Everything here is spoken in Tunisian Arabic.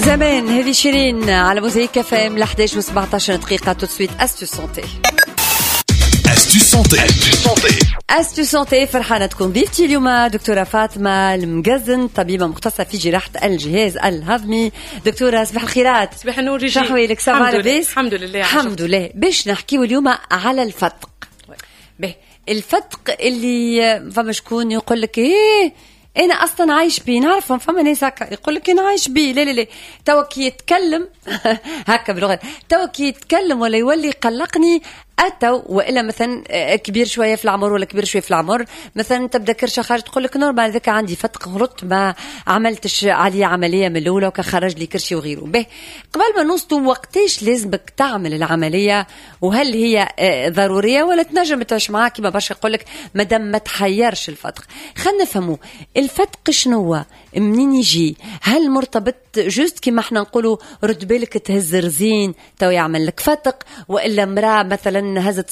زمان، هذه شيرين على موزايك اف ام، ل 11 و 17 دقيقة. tout de suite astuce santé. astuce santé. astuce santé. astuce santé. فرحانة تكون ضيفتي اليوم دكتورة فاطمة المقزن، طبيبة مختصة في جراحة الجهاز الهضمي. دكتورة، صباح الخيرات. صباح النور ريجي. شو احوالك؟ ça va؟ الحمد لله. لاباس؟ الحمد لله. الحمد لله. باش نحكيو اليوم على الفتق. به، الفتق اللي فما شكون يقول لك ايه، انا اصلا عايش بيه. نعرفهم، فما ناس هكا يقول لك انا عايش بيه. لا لا لا، توا كي يتكلم هكا بلغه، توا كي يتكلم ولا يولي يقلقني اتو، والا مثلا كبير شوية في العمر ولا كبير شوية في العمر مثلا، تبدا كرشه خارج، تقول لك normal، ذاك عندي فتق، غلطت ما عملتش عليه عملية من الاولى وكخرج لي كرشي وغيره. به، قبل ما نوصلوا وقتاش لازمك تعمل العمليه، وهل هي ضرورية ولا تنجم تعيش معاك كيما برشا يقول لك مادام ما تحيرش الفتق؟ خلينا نفهموا الفتق شنو هو، منين يجي، هل مرتبط juste كيما احنا نقولوا رد بالك تهز رزين تو يعمل لك فتق، والا مراة مثلا هزت